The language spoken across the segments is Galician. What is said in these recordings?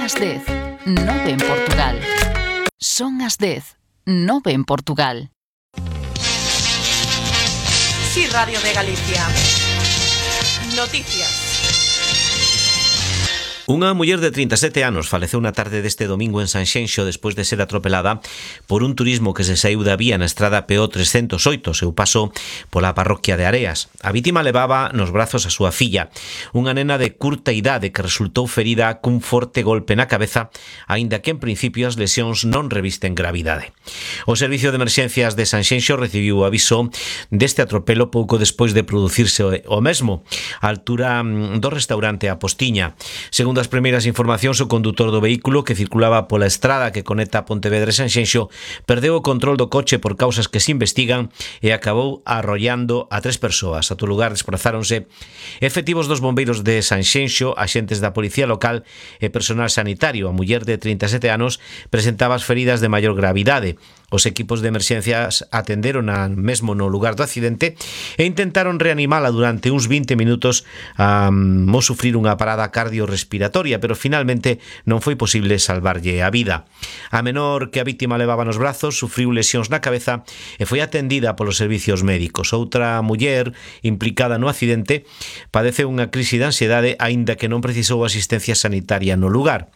as 10, 9 en Portugal. Son as 10, 9 en Portugal. Sí, Radio de Galicia. Noticias. Unha muller de 37 anos faleceu na tarde deste domingo en Sanxenxo despois de ser atropelada por un turismo que se saiu da vía na estrada PO 308, seu paso pola parroquia de Areas. A vítima levaba nos brazos a súa filla, unha nena de curta idade que resultou ferida cun forte golpe na cabeza, aínda que en principio as lesións non revisten gravidade. O Servicio de Emerxencias de Sanxenxo recibiu o aviso deste atropelo pouco despois de producirse o mesmo, á altura do restaurante A Postiña. Segundo as primeiras informacións, o condutor do vehículo que circulaba pola estrada que conecta Pontevedra e Sanxenxo perdeu o control do coche por causas que se investigan e acabou arrollando a 3 persoas. A todo lugar desprazáronse efectivos dos bombeiros de Sanxenxo, axentes da policía local e personal sanitario. A muller de 37 anos presentaba as feridas de maior gravidade. Os equipos de emerxencias atenderon mesmo no lugar do accidente e intentaron reanimala durante uns 20 minutos ao sufrir unha parada cardiorrespiratoria, pero finalmente non foi posible salvarlle a vida. A menor que a vítima levaba nos brazos sufriu lesións na cabeza e foi atendida polos servicios médicos. Outra muller implicada no accidente padeceu unha crise de ansiedade aínda que non precisou asistencia sanitaria no lugar.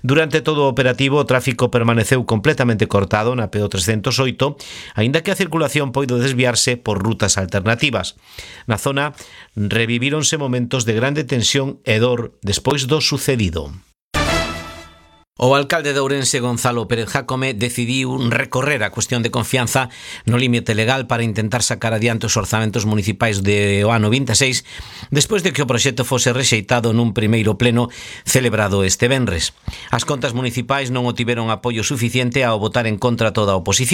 Durante todo o operativo, o tráfico permaneceu completamente cortado na PO 308, aínda que a circulación poido desviarse por rutas alternativas. Na zona revivíronse momentos de grande tensión e dor despois do sucedido. O alcalde de Ourense, Gonzalo Pérez Jácome, decidiu recorrer a cuestión de confianza no límite legal para intentar sacar adiante os orzamentos municipais do ano 26, despois de que o proxecto fose rexeitado nun primeiro pleno celebrado este venres. As contas municipais non obtiveron apoio suficiente ao votar en contra toda a oposición.